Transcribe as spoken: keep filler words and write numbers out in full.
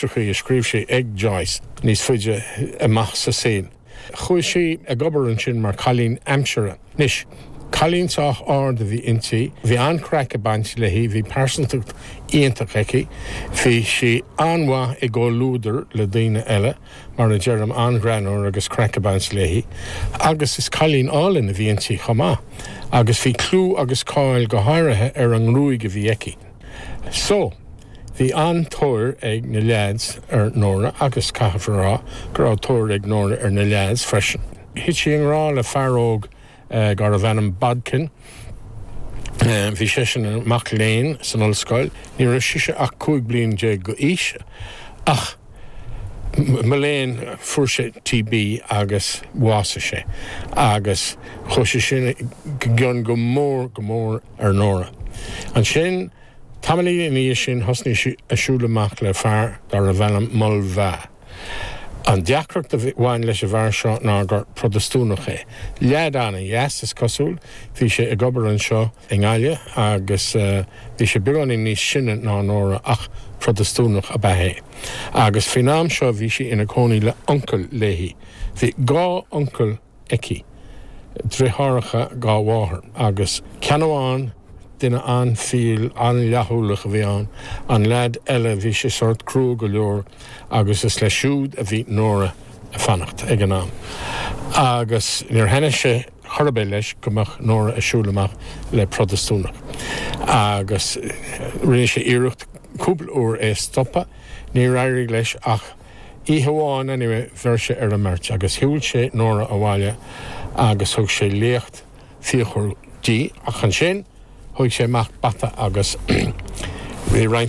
Litreacha a scríobh sé ag Joyce níos faide amach sa saol. Chuaigh sí ag obair ansin mar cailín aimsire. Anois, cailín sách ard a bhí inti, bhí an-chraic ag baint léi, bhí pearsantacht iontach aici, bhí sí an-mhaith i gcomhluadar le daoine eile, mar a deirim an-ghreannmhar agus craic ag baint léi, agus is cailín álainn a bhí inti chomh maith, agus bhí clú agus cáil go háirithe ar an ngruaig a bhí aici. So, bhí an-tóir ag na leaids ar Nóra agus caithfear a rá go raibh tóir ag Nóra ar na leaids freisin. Thit sí i ngrá le fear óg eh, darbh ainm Bodkin. Eh, bhí seisean ina mhac léinn san ollscoil, ní raibh sise ach cúig bliana déag d'aois ach mo léan fuair sé TB agus bhásaigh sé agus chuaigh sé sin i gcion go mór go mór ar Nóra. Ansin tamaillín ina dhiaidh sin thosnaigh sí ag siúl amach le fear darbh ainm Mulvagh. An deacracht a bhain leis an bhfear seo ná gur Protastúnach é. Leaid an-dheas is cosúil, bhí sé ag obair anseo i nGaillimh agus uh, bhí sé beagáinín níos sine ná Nóra ach Protastúnach ab ea é. Agus faoin am seo bhí sí ina cónaí le uncail léi. Bhí dhá uncail aici. Deartháireacha dá mháthair agus ceann amháin duine an-fhial an-fhlaithiúlach a bhí ann, an leaid eile bhí sé sort crua go leor agus is leis siúd a bhí Nóra ag fanacht ag an am. Agus níor thaitnigh sé chor ar bith leis go mbeadh Nóra ag siúl amach le Protastúnach. Agus rinne sé iarracht cúpla uair é stopadh, níor éirigh leis ach oíche amháin anyway bheir sé ar an mbeirt agus shiúil sé Nóra abhaile agus thug sé léacht fíochmhar di ach ansin thóg sé amach bata agus bhí roinnt